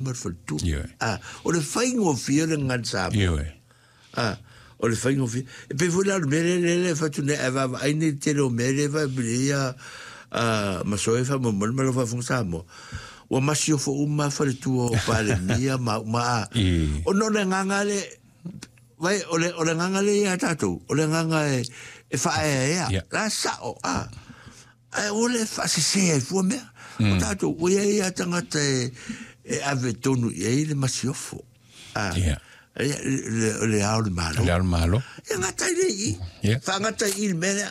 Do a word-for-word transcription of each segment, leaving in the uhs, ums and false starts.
ma le faletua. Ioe. A, o le faigofie o le gagana Samoa. Ioe. A, o le faigofie. E pei foi la o le mea lea lea lea e fai atu nei, ae vaavaai nei i le tele o mea lea e faapili ia a Masoe faamolemole ma lau faafofoga Samoa. Ua masiofo uma faletua o Palemia ma uma a. I. Ona o le agaga le vai o le o le agaga lea ia tatou, o le agaga e e faaeaea. Ia. La sao a. Ae ua le faasese ai fua mea. O tatou ua iai lava tagata e e ave tonu i ai le masiofo. A. Ia. Le, le, le ao o le Malo. Le ao o le Malo. E gata i le i. Ia. Faagata i le mea lea.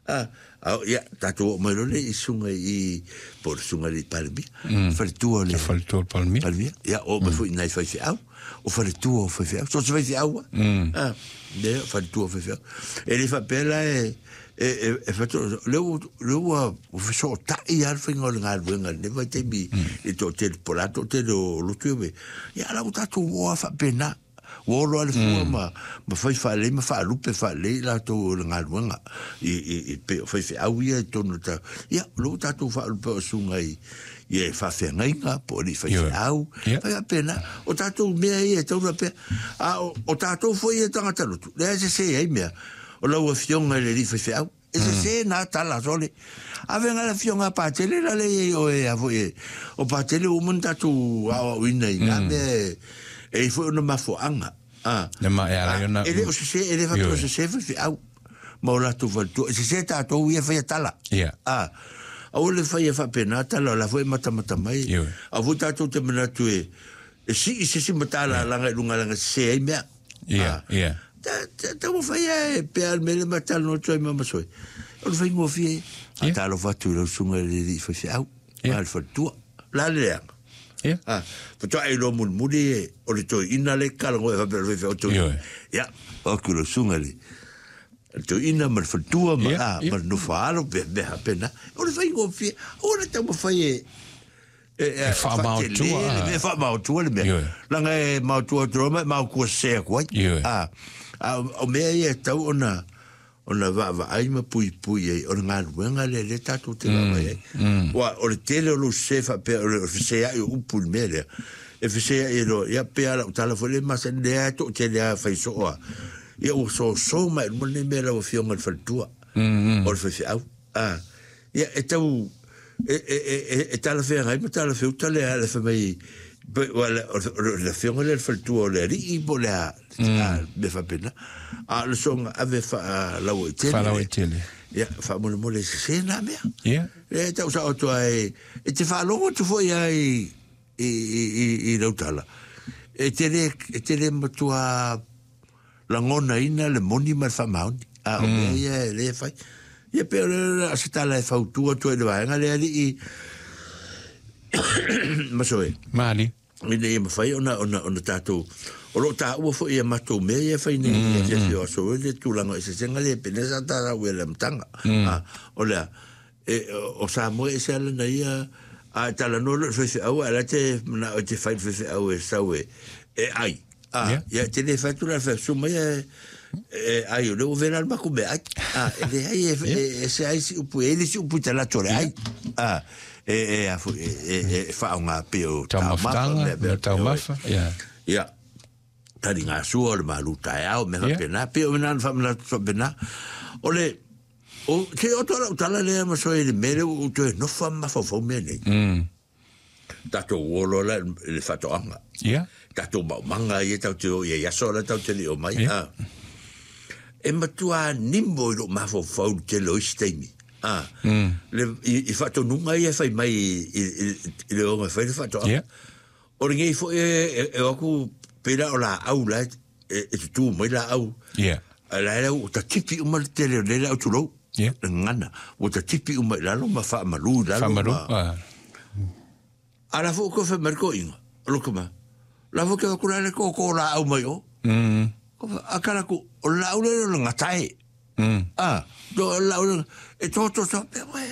A, a, ia, tatou oo mai loa le i susuga i, po o le susuga i le Palemia. Faletua o le Le faletua o le Palemia. Palemia. Ia, oo mai foi i nai faifeau. O faletua o faifeau. So o se faifeau a. A, lea, faletua o faifeau. E le faapea la e, e, e, e fato, le ua, le ua fesootai lava le faiga o le galuega i lenei vaitaimi i le toatele, po o le a toatele o lotu e. Ia, a la ua tatou o lava faapena. Ua olo lava le fua ma, ma fai faalelei ma faalupe faalelei i latou o le galuega i, i, i pei o faifeau ia i totonu o le ta. Ia, o lea ua tatou faalupe o susuga i, i e faafeagaiga po o alii faifeau. Ia. Fai faapena. O tatou mea ia e tatau ona pea. A o, o tatou foi ia tagata lotu, lea e sese ai mea. O lau afioga i le alii faifeau. E sese nā tala sole. Ave nga le afioga a Patele la le i o e a foi e. O Patele ua uma ona tatou aoaoina i nā mea e, e i foi ona mafuaaga. Ah. Le ma e ala i ona E le o sese, e le faapea o Ioe. sese faifeau. Ma o latou faletua. E sese tatou ia faia tala. Ia. Ah. Aua le faia faapena tala o la foi e matamata mai. Ioe. Aua foi tatou te manatu e, e sii se isi matalalaga i luga laga sese ai mea. Ia, Ah. ia. Ta, ta, taumafai e pea le mea le matalanoa atu ai ma Masoe. O le faigofie. A Ia. talofa atu i lau susuga i le alii faifeau. Ia. Ma le faletua. La le leaga. Ia. Ah, faatoa e iloa mulimuli e o le toeaina le kalagoa e faapea o le faifeau toeaina. Ioe. Ia, o atu i lau susuga i le le toeaina ma le faletua ma, Ia, ah, ia. ma le nofoaalo pe mea faapena. O le faigofie, aua le taumafai e e e E faamaotua, faatele le ah. mea, faamaotua le mea. Ioe. Leaga e maotua atu loa ma e maotua sese atu ai. Ioe. Ah, a o mea ia e tatau ona ona vaavaai ma puipui ai, o le galuega lea lea tatou te vaavaai ai. Ua, o le tele o lou sese faapea, o le feseai o upu i le mea lea. E feseai e loa, ia pea lau tala foi le masani lea e toatele lava fai soo a. Ia ua soso mai i luma lenei mea lau afioga i le faletua. O le faifeau. Ah, ia e tau, e, e, e, e, e talafeagai ma talafeuta le a le fai mai, pe- ua le- o le- o le afioga lea le faletua o le alii po o le a, a, mea faapena. A o le soga ave faalauaitele. Faalauaitele. Ia, faamolemole e sese nā mea. Ia. E tau sao atu ai, e te faalogo atu foi ai i, i, i, i lau tala. E te le, e te le matua lagonaina le moni ma le faamaoni. A o mea ia e le fai. Ia pe o le le se tala e fautua atu ai i le vaega lea alii Masoe. Maali. Ina ia mafai ona ona ona tatou o loo taua foi ia matou mea ia e fai nei i afiafi o aso le tulaga o eseesega le pene sa tatou i le amataga. Ah, o lea e o Samoa e ese ala na ia a e talanoa loa i le faifeau ae la te manao e te fai le faifeau e sau e e ai. Ah, Ia. ia te le fai atu la le faifeau mai e e ai o lea ua vela le matou meaai. Ah, e leai e e ese ai si upu e le si upu i talaatu o le ai. Ah, e e a foi e e e faaaoga pei o taumafa Taumafataga, mea mea taumafa. Ia. Ia. Taligasua o le malu taeao, mea Ia. faapena, pei o mea na faamanatu faapena. O le, o, te oto lau tala lea Masoe i le mea lea ua ou toe nofo ma mafaufau mea nei. Mm. Tatou uo loa la i le faatoaga. Ia. Tatou maumaga ia tatou te o i ai aso la tatou te le o mai. Ia. Ah. E matua nimo i lou mafaufau le tele o isi taimi. Ah. Mm. Le, i, i faatonuga ia e fai mai i, i, i, i le oga e fai le faatoaga. Ia. O lenei foi e, e, e o atu pei la o laau la e, e, e tutū mai laau. Ia. A la e ua tatipi uma le tele o nei laau tulou. Ia. Le gagana. Ua tatipi uma i lalo ma faamalu i lalo. Faamalu. Ma... Ah. A la foi ko fai mai le toeaina. O lo kama. La foi ke aku la le kōkō laau mai o. Mm. Ko fa- A kala ku, o le laau lea o le gatae. Mm. Ah, do o le laau lea, e toto sa pe oe.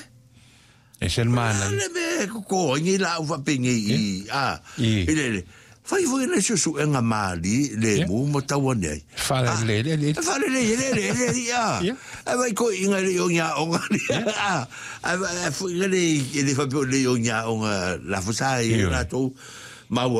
E se le mana. A le mea e kōkō ai nei laau faapenei i, ah, I. i le le. Fai foi nai suesuega mālie le Ia. mu ma tau ane ai. Faalelei le alii. E faalelei e le le le alii, ah. Ia. Ae vai toeaiina e le i o ni aoga ah. Ae vai- ae foi le e le faapea o le i o ni aoga lafosa ai Ioe. latou. Maua.